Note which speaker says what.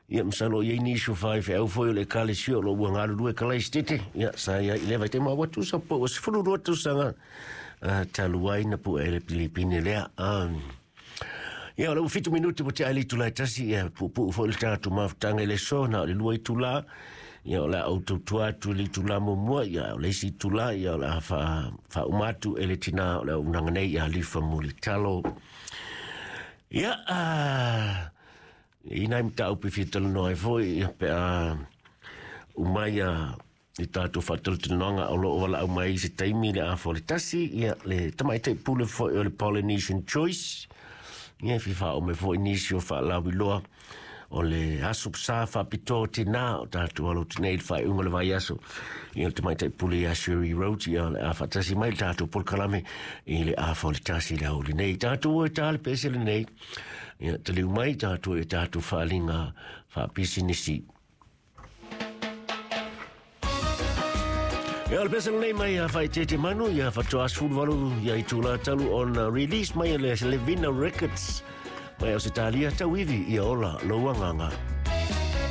Speaker 1: Ia, masalo o i ai nisi o faifeau foi o le Ekalesia o lo o ua galulue Kalaisitete, ia, sa i ai i lea vaitaimi, ma ua tusa po ua 12 tausaga talu ai na pue ai le Pilipine lea. Ia, o le ua 7 minuti ua tea ai le itula e 1, ia, puupuu foi le tatou mafutaga i le aso, na o le 2 itula, ia, o le a ou tautua atu i le itula muamua, ia, o le isi itula, ia, o le a faauma atu e le tinā o le auaunaga nei ia Lifa Mulitalo. Ia, e i ai nai mataupu e fia talanoa ai foi, ia, pe a uma ia i tatou faatalatalanoaga o lo o valaau mai i se taimi le afa o le 1, ia, le tamaitai pule foi o le Polynesian Choice, ia, e fia faaoo mai foi nisi o faalauiloa o le aso sa faapitoa o tinā o tatou alo atu nei i le faaiuga o le vaiaso, ia, le tamaitai pule ia Sherry Rhodes, ia, o le a faatasi mai le tatou polokalame i le afa o le 1 le aoauli nei. Tatou o e tā le pese lenei, ia, taliu mai tatou i tatou faaaliga faapisinisi. Ia, o le pese lenei mai a Faaeteete Manu, ia faatoa 18 ia itula talu ona release mai e le Levina Records mai Ausetalia, tauivi ia ola lou agaga.